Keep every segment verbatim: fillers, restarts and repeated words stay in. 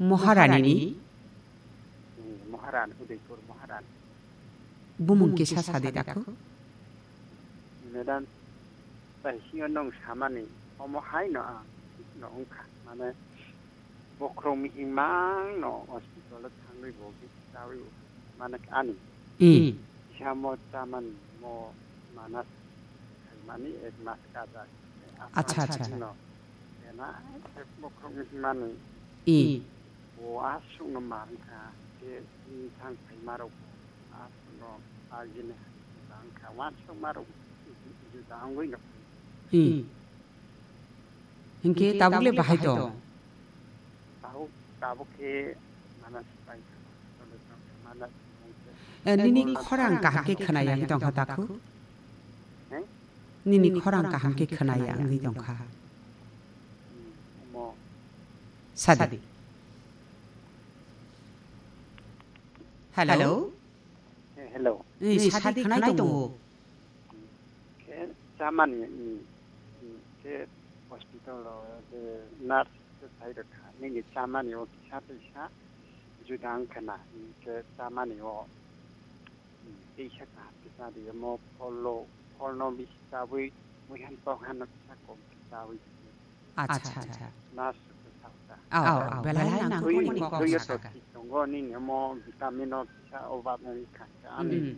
Moharanini? Hmm, Moharan, Udaipur Moharan. Bumung kisa sadi dakho? Madam, paisio nong samani, omo haino ang no wngkha. Mane, bokhorok mihimang no hospital o thangwi bo bisawi mane ani. Hmm. Samo chamani mo manas mani ek mas kajak. Acha, acha. No. Ena ek bokhorok mihimani. Hmm. Bo aswkno mankha, tei thang phaimarok bo aswkno agini hai mankha, uansukmarok juda wngwi no. Hmm. Hinkhe tabuk le bahai tong? Tabuk, tabuk khe mana sipai kha, mana. Eh, nini khorang kaham khe khwnaya wngwi tongkha takhu? He? Nini khorang kaham khe khwnaya wngwi tongkha? Hmm, omo. Sadi. Hello? Hello? Eh, hello. Eh, sadi khwnai tongo. Khe chamani, mm, mm, khe hospital o je nurse khe sai rwkha, nini chamani o kisa tisa juda wngkha na, mm, khe chamani o, mm, teisa kaham khe cha di, omo pholno, pholno bisi chabwi, muihan tokhan no kisa kom khe chabwi. Acha, acha. Nurse khe sakha. Aw, aw, belai nangkukmani kok sakha. Tongo, nini omo vitamin o kisa obab wngkha, ani. Mm.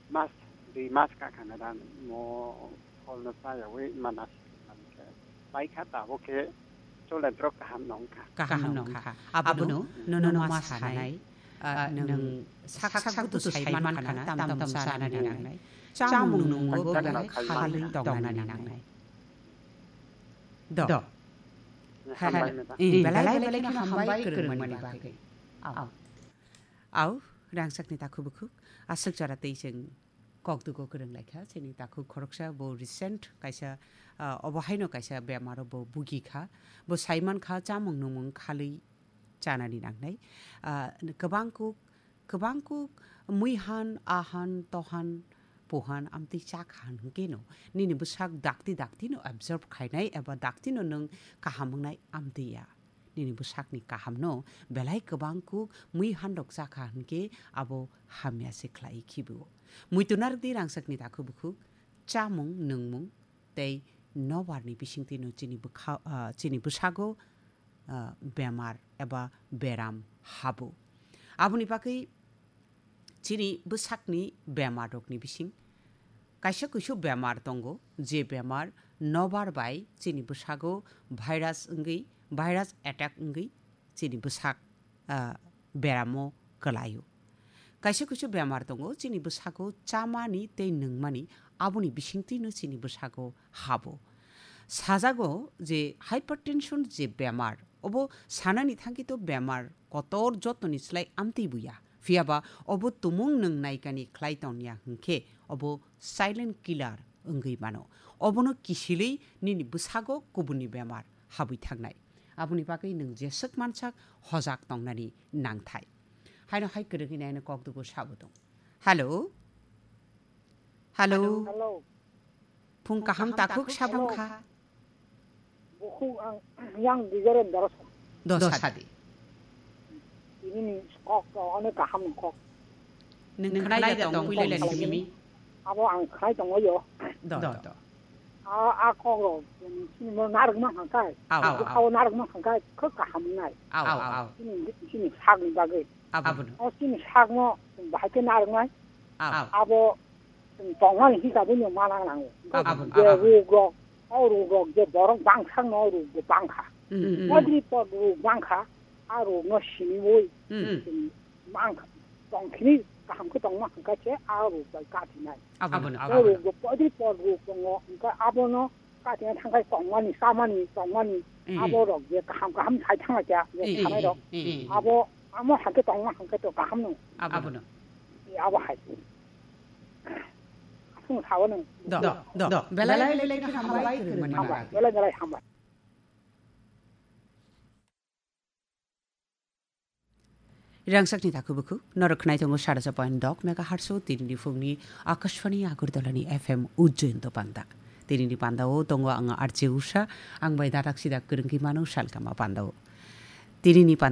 Mas, dui mas ka khana dan mo pholno chayawi manas mankhe. Paikha tabuk khe chole drok kaham nongkha. Kaham nongkha. Abono nono ma sanai, ah, nwng sak sak butu sai mankhana tam tam chanani nangnai. Chamung nungbo belai khalwi tongnani nangnai. Do. Hambai, madam. Eh, belai belai kheno hambai kwrwngmani bagwi. Aw. Aw, rangchakni takhuk bukhuk, aswk jora tei chwng kokdugo kwrwng laikha, chini takhuk khoroksa bo recent kaisa, ah, obo haino kaisa bemaro bo bugikha, bo saimankha chamung nungmung khalwi chanani nangnai. Ah, kwbang kuk, kwbang kuk muihan, ahan, tohan, puhan amtwi chakha hwnkhe no nini bwsak dakti dakti no absorb khainai eba dakti no nwng kaham wngnai amtwi ya. Nini bwsakni kahamno belai kwbang kuk mui handok chakha hwnkhe abo hamya se khlai khibo. Muitu narwkdi rangchakni takhuk bukhuk, chamung, nwngmung tei nobarni bisingtwino chini bwkha-, ah, chini bwsago, ah, bemar eba beram habo. Aboni bagwi chini bwsakni bemarrokni bising kaisa kuisu bemar tongo, je bemar nobar bai chini bwsago virus wngwi, virus attack wngwi chini bwsak, ah, beramo kwlaio. Kaisa kuisu bemar tongo, chini bwsago chamani tei nwngmani, aboni bisingtwino chini bwsago habo. Sajago je hypertension je bemar, obo sanani thangkhe to bemar kotor jotoni slai amtwi buya. Phiyaba obo tumung nwng naikani khlai tongya hwnkhe obo silent killer wngwi mano. Obono kisilwi nini bwsago kubunni bemar habwi thangnai. Aboni bagwi nwng jeswk mansak hojak tongnani nangthai. Haino hai kwrwngwi naino kokdugo sabo tong. Hello? Hello? Hello. Phung kaham takhuk sabung kha. Bukhuk ang yang dijare dorosong. Dos sadi. Ini ni kok to, ane kaham kok. Nwng khwnai da tong, puila ni simi. Abo ang khwnai tongo yo. Do, do. A, a kok ro, sini mo narwk ma hangkai. Aw, aw, aw. Aw narwk ma hangkai, khe kaham nai. Aw, aw, aw. Sini, sini sak ni bagwi. Abono. O chini sakno bahai khe narwknai. Abo chwng tongmani hisabwi no mana nango. Abono. Je ruk rok, o ruk rok je borok bang sakno o ruk bo bangkha. Mm, mm. Podri pod ruk bangkha, a rukno siniwi chwng mangkha. Tongkhini kaham khe tongma hwnkha khe a ruk bai katinai. Abono, abono. O ruk bo podri pod ruk tongo, hwnkhe abono katinai thangkhai tongmani, chamani, tongmani, abo rok je kaham kaham sai thangkha khe, je sanai rok. Abo Amo hake tongma hake to kaham no. Abono. Abo hai. Asung sawo no. Do, do. Belai belai khe hambai kwrwngmani bagwi. Belai belai hambai. Rangchakni takhuk bukhuk, norok khwnai tongo saraja point dok megahertz o tinini phungni Akashvani Agartala ni F M Ujjayanto panda. Tinini panda o tongo ang R J Usha, ang bai dadak sidak kwrwngwi mano salkama panda o. Tinini panda